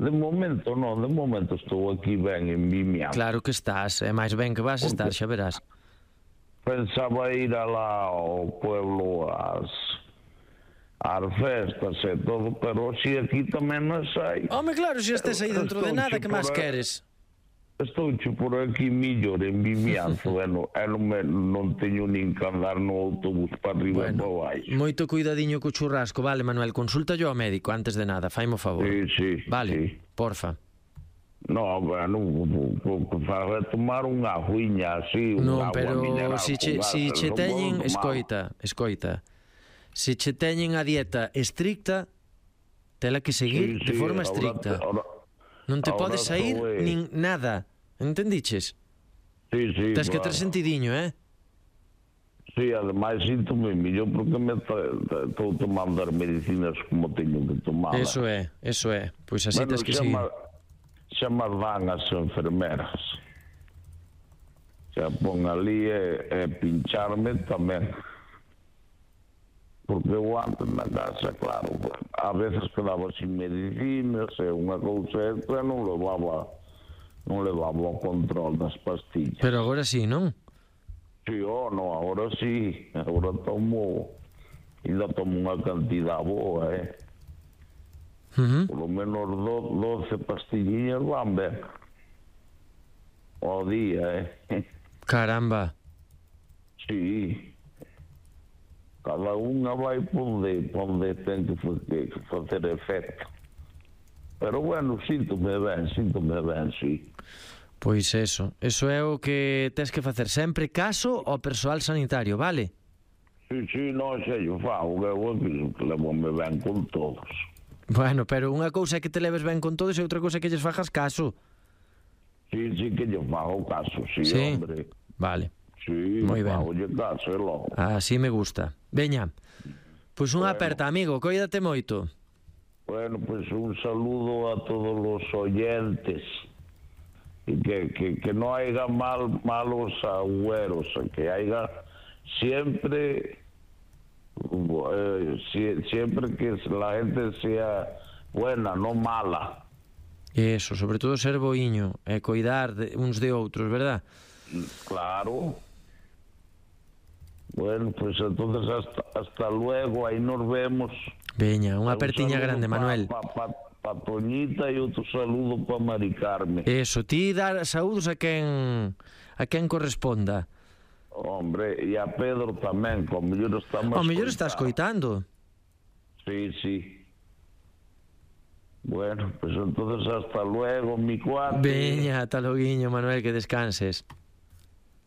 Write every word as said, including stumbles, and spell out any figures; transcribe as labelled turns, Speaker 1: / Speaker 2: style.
Speaker 1: De momento non, de momento estou aquí ben en Vimianzo.
Speaker 2: Claro que estás, é máis ben que vas estar, xa verás.
Speaker 1: Pensaba ir alá ao pueblo ás, ás festas e todo, pero si aquí tamén non sei.
Speaker 2: Home, claro, se estés aí dentro de nada, que máis queres?
Speaker 1: Estou por aquí millor en Vimianzo e non, e non, me, non teño nin que andar no autobús para arriba bueno, e para baixo.
Speaker 2: Moito cuidadiño co churrasco, vale, Manuel, consulta yo ao médico antes de nada, faimo favor.
Speaker 1: Sí, sí,
Speaker 2: vale,
Speaker 1: sí.
Speaker 2: porfa.
Speaker 1: No, bueno, para tomar unha aguiña así,
Speaker 2: non,
Speaker 1: unha
Speaker 2: pero
Speaker 1: agua mineral.
Speaker 2: Si che, si che teñen, escoita, escoita, si che teñen a dieta estricta, tela que seguir
Speaker 1: sí,
Speaker 2: de
Speaker 1: sí,
Speaker 2: forma estricta.
Speaker 1: Ahora, ahora,
Speaker 2: non te podes sair
Speaker 1: é...
Speaker 2: nin nada, entendiches?
Speaker 1: Sí, sí,
Speaker 2: Tens que
Speaker 1: claro.
Speaker 2: ter sentidiño, eh?
Speaker 1: Sí, ademais síntome millor porque me estou tomando as medicinas como teño que tomar.
Speaker 2: Eso é, eso é, pois así
Speaker 1: bueno,
Speaker 2: tens que seguir.
Speaker 1: Xa me dan as enfermeras. Xa pon ali e, e pincharme tamén. Porque eu antes na casa, claro, a veces quedaba sin medicinas e unha cousa extra non levaba non levaba o control das pastillas.
Speaker 2: Pero agora sí, non?
Speaker 1: Sí, oh, no, agora sí. Agora tomo, ainda tomo unha cantidad boa, eh.
Speaker 2: Uh-huh.
Speaker 1: Por lo menos doce pastilliñas van ben ao día, eh.
Speaker 2: Caramba.
Speaker 1: Sí. Cada unha vai ponde, ponde ten que facer efecto. Pero bueno, síntome ben, síntome ben, sí.
Speaker 2: Pois eso, eso é o que tes que facer sempre caso ao persoal sanitario, vale?
Speaker 1: Sí, sí, non sei, eu fago, eu que levo-me ben con todos.
Speaker 2: Bueno, pero unha cousa é que te leves ben con todos e outra cousa é que lles fajas caso.
Speaker 1: Sí, sí que lle fago caso, sí,
Speaker 2: sí?
Speaker 1: hombre.
Speaker 2: Vale.
Speaker 1: Sí,
Speaker 2: moi ben.
Speaker 1: Fago caso, é logo.
Speaker 2: Así me gusta. Veña, pois unha bueno. aperta, amigo, coídate moito.
Speaker 1: Bueno, pois un saludo a todos os oyentes. Y que, que, que no haya mal, malos agüeros, que haya siempre, eh, si, siempre que la gente sea buena, no mala.
Speaker 2: Eso, sobre todo ser boiño e coidar de, uns de outros, verdad?
Speaker 1: Claro. Bueno, pues entonces hasta, hasta luego, aí nos vemos.
Speaker 2: Veña, unha apertiña grande, pa, Manuel.
Speaker 1: Pa, pa, pa Toñita e outro saludo para Mari Carmen.
Speaker 2: Eso, ti dar saúdos a quen a quen corresponda.
Speaker 1: Hombre, e a Pedro tamén, que ao mellor está máis.
Speaker 2: Ao mellor está escoitando.
Speaker 1: Sí, sí. Bueno, pues entonces hasta luego, mi cuate.
Speaker 2: Veña, ata loguiño, Manuel, que descanses.